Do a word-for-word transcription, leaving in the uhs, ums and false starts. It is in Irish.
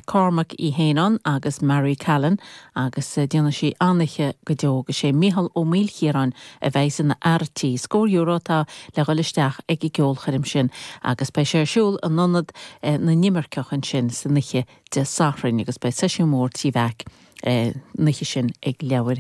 Cormac í héan agus Mary Callan agus déanfaidh sí an-oíche go deo agus sé Mícheál Ó Maoilchiaráin a bheidh ina fhear tí. Scór euro atá le dhul isteach ag an gceolchoirm sin agus beidh sé ar siúl in ionad na n-imirceach ansin san oíche Dé Sathairn agus beidh seisiún mór trí mheac an oíche sin ag leabhar